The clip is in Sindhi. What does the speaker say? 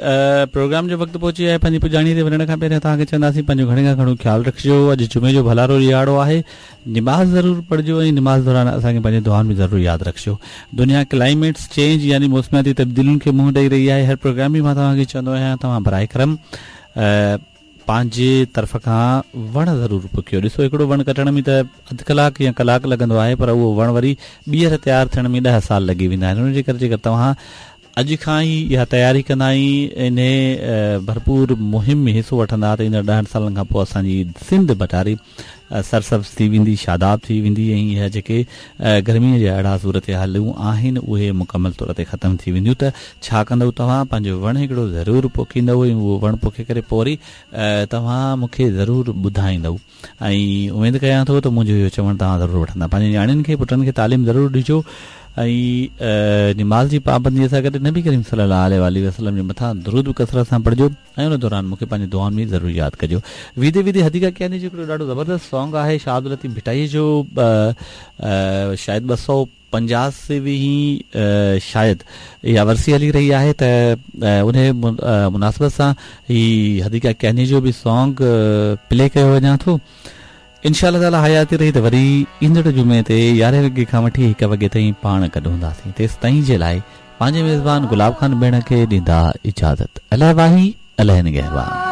پروگرام جو وقت پهچي ويو آهي پنهنجي پڄاڻي تي وڃڻ کان پهريان توهان کي چونداسين پنهنجو گهڻي کان گهڻو خيال رکجو اڄ جمعي جو ڀلارو ڏهاڙو آهي نماز ضرور پڙهجو ۽ نماز دوران اسان کي پنهنجي دعائن ۾ ضرور ياد رکجو دنيا ڪلائميٽس چينج يعني موسمياتي تبديلين کي منهن ڏئي رهي آهي هر پروگرام ۾ مان توهان کي چوندو آهيان توهان براء ڪرم پنهنجي طرف کان وڻ ضرور پوکيو ڏسو هڪڙو وڻ ڪٽڻ ۾ ته اڌ ڪلاڪ يا ڪلاڪ لڳندو آهي پر اهو وڻ وري ٻيهر تيار ٿيڻ ۾ ڏهه سال لڳي ويندا آهن ان جي ڪري جيڪر توهان اڄ کان ئي اها تياري ڪندا ۽ انهي ڀرپور مهم ۾ حصو وٺندا ته ايندڙ ڏهن سالن کان پوء اسان جي سنڌ ڀٽاري سرسبز ٿي ويندي، شاداب ٿي ويندي ۽ اها جيڪي گرميء جا اهڙا صورتحالون آهن اهي مڪمل طور تي ختم ٿي وينديون ته ڇا ڪندؤ توهان پنهنجو وڻ هڪڙو ضرور پوکيندؤ ۽ اهو وڻ پوکي ڪري پوء وري توهان مون کي ضرور ٻڌائيندؤ ۽ اميد ڪيان ٿو ته منهنجو اهو چوڻ توهان ضرور وٺندا. پنهنجي نياڻين کي پٽن کي تعليم ضرور ڏجو ۽ نماز جي پابندي سان گڏ نبي ڪريم صلي الله عليه واٰله وسلم جي مٿان درود به ڪثرت سان پڙهجو ۽ ان دوران مون کي پنهنجي دعائن ۾ ضرور ياد ڪجو. ويندي ويندي حديقه ڪياني جو هڪڙو ڏاڍو زبردست سانگ آهي شاهه عبداللطيف ڀٽائي جو شايد 285 ويهين شايد اها ورسي هلي رهي آهي ته انهي مناسبت سان هي حديقه ڪياني جو به سانگ پلي ڪيو وڃان ٿو انشاء الله تعالي حياتي رهي ته وري ايندڙ جمعي تي يارهين وڳي کان وٺي هڪ وڳي تائين پاڻ گڏ هونداسين تيستائين جي لاء پنهنجي ميزبان گلاب خان ٻيڻ کي ڏيندا اجازت الله واهي الله نگهبان.